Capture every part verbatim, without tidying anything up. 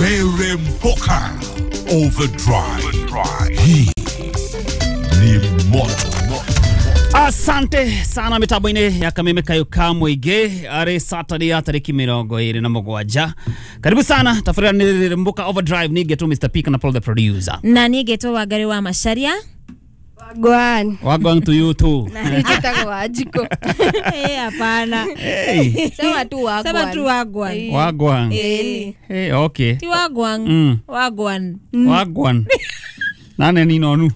Reremboka Overdrive. Hii ni moto. Asante sana mitambo-inĩ ya Kameme Kayo ka Mũingĩ arĩ Saturday ya tarĩki mĩrongo ĩrĩ na mũgwanja. Karibu sana tabarĩra nĩ Mboka Overdrive, nĩ ngetwo Mister P kana Paul the producer. Na niĩ ngetwo Wangari wa Macharia. Wagwan. Wagwan to you too. Na niĩ njĩtagwo Wanjikũ. Eh, hapana. Hey. Sema tu wagwan. Sema tu wagwan. Wagwan. Eh. Hey, okay. Ti wagwan. Mm. Wagwan. Wagwan. Nane ni nonu.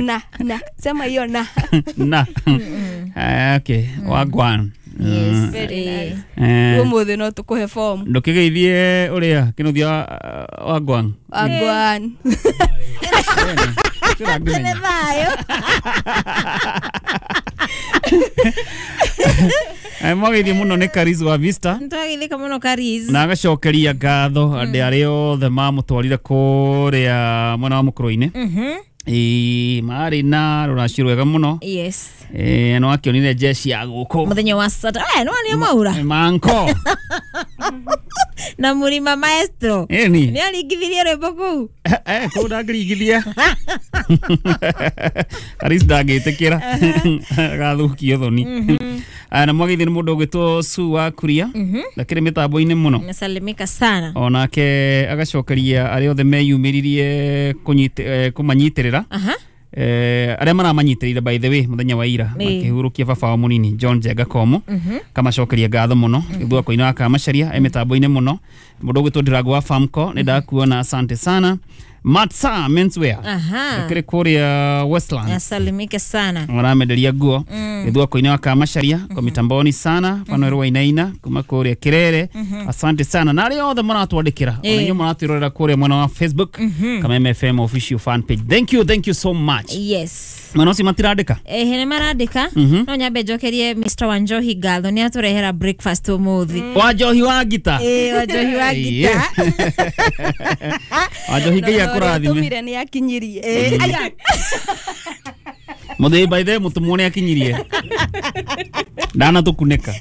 Na, na. Sema hiyo na. Na. Eh, okay. Wagwan. Yes, very nice. Eh. Umuthi no tukuhe form. Ndukigeithie uria kinuthia wagwan. Wagwan. Nĩ thayũ. Eh, mwageithie mũno nĩ Kariz wa Vista. Nĩtwageithĩka mũno Kariz. Na agacokeria ngatho andũ arĩa othe mamũtwarire kũrĩa mwena wa Mũkũrũ-inĩ. Mhm. Ĩĩ, marĩ na rũracio rwega mũno. Yes. Eh, no akĩonire jeshi ya gũkũ. Mũthenya wa Saturday. Eh, no nĩ maura. Manko. Na Mũrima Maestro. Ĩni. Nĩ aringithirie rwĩmbo kũu. Eh, kũu ndangĩringithia. Kariz ndangĩtĩkĩra. Agathũkio thoni. Na mwageithie nĩ mũndũ ũgwĩtwo Sue wa Kuria. Ndakĩrĩ mĩtambo-inĩ mũno. Amesalimika sana. Onake agacokeria arĩa othe meyumĩririe kũmanyitĩrĩra. Aha. Eh, arĩa maramanyitĩrĩire by the way mũthenya wa ira makĩhurũkia baba wao mũnini John Njenga Komo. Kamacokeria ngatho mũno gĩthua wa Kamacharia e mĩtambo-inĩ mũno. Mũndũ ũgwĩtwo Ndirago wa Famco nĩ ndakuona, asante sana. Matsa Menswear. Aha. Kĩrĩ kũrĩa Westlands. Asalimike sana. Maramenderia nguo gĩthua koine wa Kamacharia kwa mitamboni sana Fanuel Wainaina kuma kũrĩa Kirere, asante sana na arĩa othe maratwandĩkĩra ona inyuĩ maratwĩrorera kũrĩa mwena wa Facebook Kameme F M official fan page. Thank you, thank you so much. Yes. Mwena ũcio matirandĩka? Eh, nĩ marandĩka. No nyambe njokerie Mister Wanjohi ngatho nĩ atũrehera breakfast ũmũthĩ. Wanjohi wa ngita. Eh, Wanjohi wa ngita. Wanjohi Ngai akũrathime. Tũmire nĩ akinyirie. Eh, aya. Mũthĩ by the way mũtũmwo nĩ akinyirie. Ndana tũkunĩka.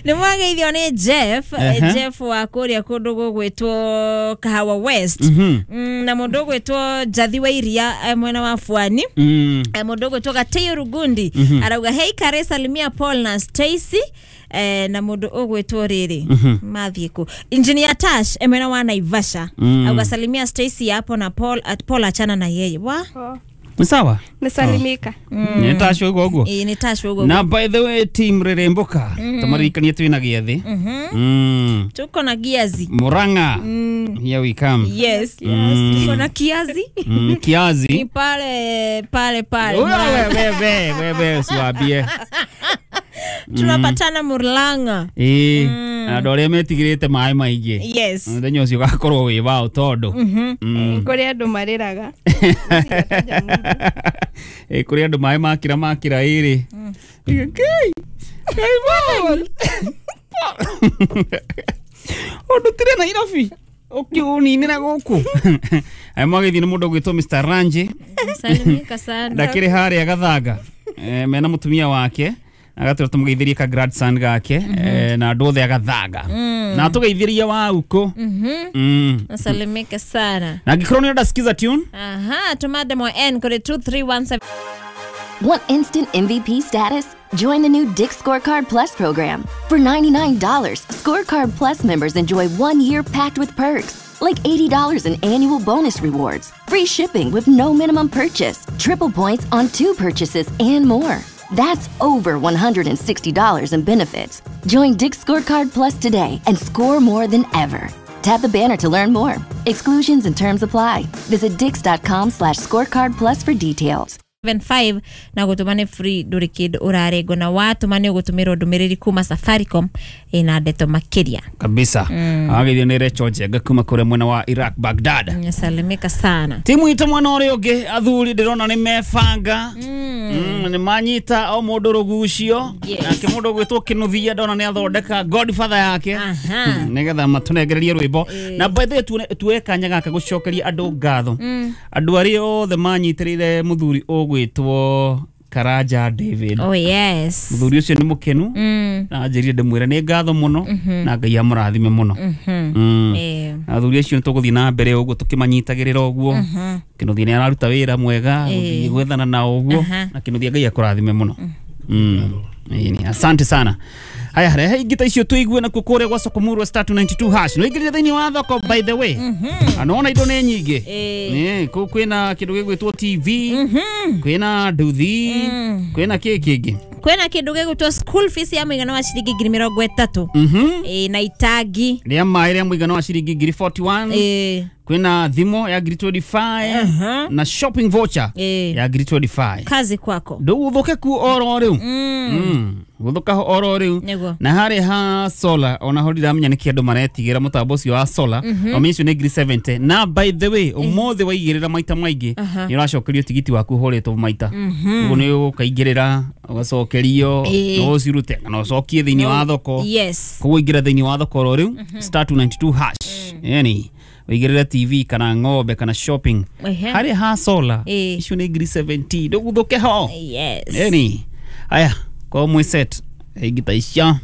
Nĩ mwageithio nĩ Jeff, uh-huh. Jeff wa kũrĩa kũndũ gũgwĩtwo Kahawa West. Mm-hmm. Mm, na mũndũ ũgwĩtwo Njathi wa Iria mwena wa Pwani. Mm. Mũndũ ũgwĩtwo Gatĩyo Rugundi. Mm-hmm. Arauga hey Kare, salimia Paul na Stacy. Eh, na mũndũ ũgwĩtwo rĩrĩ mm-hmm. mathiĩ kũ Engineer Tash mwena wa Naivasha. Mm. Auga salimia Stacy hapo na Paul at Paul achana na yeye. Wa? Oh. Ni sawa? Nisalimika. Mm. Nĩ Tash ũguo ũguo? Ĩĩ, nĩ Tash ũguo. Na by the way team Reremboka, tũmaririkanie twĩna gĩathĩ. Mhm. Tuko na giazi. Murang'a. Here we come. Yes. Yes. Tuko na kiazi. Mm, kiazi. Ni pale pale pale. Wewe wewe wewe usiwaambie. Tunapatana Murang'a. Ĩĩ, andũ arĩa metigĩrĩte maĩ maingĩ. Yes. Mũthenya ũcio ũgakorwo wĩ wao tondũ. Mm. Kũrĩ andũ marĩraga. Ĩĩ, kũrĩ andũ maĩ makĩra makĩra ĩrĩ. Ngai. Ngai Paul. Ũndũ tire Nairobi. Ũkĩũninĩra gũkũ. Aya mwageithio nĩ mũndũ ũgwĩtwo Mister Ranji. Salimika sana. Ndakĩrĩ harĩa Gathanga. Eh, mena mũtumia wake. Agatwĩra tũmũgeithĩrie ka grandson gake na andũ othe agathanga. Na tũgeithĩrie wa uko. Mhm. Nasalimika sana. Na angĩkorwo nĩ ũrenda sikiza tune. Aha, tuma demo N kuri two three one seven. Want instant M V P status? Join the new Dick's Scorecard Plus program. For ninety-nine dollars, Scorecard Plus members enjoy one year packed with perks, like eighty dollars in annual bonus rewards, free shipping with no minimum purchase, triple points on two purchases, and more. That's over one hundred sixty dollars in benefits. Join Dick's Scorecard Plus today and score more than ever. Tap the banner to learn more. Exclusions and terms apply. Visit dicks.com slash scorecard plus for details. seven five na gũtũma nĩ free ndũrĩ kĩndũ ũrarengwo na watũma nĩ ũgũtũmĩrwo ndũmĩrĩri kuma Safaricom ĩna ndeto makĩria kabisa. Mm. Ageithio nĩ Rachel Njenga kuma kũrĩa mwena wa Iraq Baghdad. Nyasalimika sana. Timu itũ mwena ũrĩa ũngĩ athuri ndĩrona nĩ mebanga. Mm. Nĩ manyita o mũndũ rũgucio. Yes. Nake mũndũ ũgwĩtwo Kĩnuthia ndona nĩ athondeka godfather yake. Aha. Nĩgetha matũnengererie rwĩmbo. Na by the way tuoe kanya gaka gũcokeria andũ ngatho. Andũ arĩa othe manyitĩrĩire mũthuri ũgwĩtwo Karanja David. Oh yes. Muthuri ucio ni mukenu mm. na njirire ndimwire ni ngatho muno mm -hmm. na Ngai amurathime muno. Mm -hmm. Mm. Eh. Na Athuri acio nĩ tũgũthiĩ na mbere ũguo tũkĩmanyitagĩrĩra ũguo. Kĩnuthia nĩ araruta wĩra mwega gũthiĩ gwethana nao ũguo, Aha. na Kĩnuthia Ngai akũrathime mũno. Mm. Ĩni, asante sana. Haya, rehe ingĩ ta icio tũigue nakuo kũrĩa gwa Sokomurwa star two nine two hash. No ingĩrire thĩinĩ wa thoko, by the way. Anona indo nĩ nyingĩ. Ĩ, kũu kwĩna kĩndũ gĩgwĩtwo T V, kwĩna nduthi, kwĩna kĩ kĩngĩ. Kwĩna kĩndũ gĩgwĩtwo school fees ya mũigana wa ciringi ngiri mĩrongo ĩtatũ. Mhm. Ĩ, na itangi Rĩa maĩ rĩa mũigana wa ciringi ngiri mĩrongo ĩna na ĩmwe. Ĩ, Kwĩna thimũ ya ngiri mĩrongo ĩĩrĩ na ithano na shopping voucher Ĩ. ya ngiri mĩrongo ĩĩrĩ na ithano. Kazi kwako. Ndũgũthũke ku oro rĩu. Mm. Gũthũka ho oro rĩu. Nĩguo. Na harĩ ha solar, ona ho ndiramenya nĩkĩ andũ maretigĩra mũtambo ũcio wa solar. Ũmenye ũcio nĩ ngiri mĩrongo mũgwanja, na by the way, ũmũthĩ waigĩrĩra maita maingĩ nĩ ũracokerio tigiti waku ũhũrĩtwo maita. Ũguo nĩ ũkaigĩrĩra ũgacokerio, Ĩ. no ũcirute kana ũcokie thĩinĩ wa thoko. Yes. Koguo ingĩra thĩinĩ wa thoko oro rĩu star two nine two hash, yani ũigĩrĩre T V kana ng'ombe kana shopping. Ehe. Harĩ ha solar, Ĩ. icio nĩ ngiri mĩrongo mũgwanja, ndũgũthũke ho. Yes. Yani haya, kwa mwĩ set ingĩ ta icio.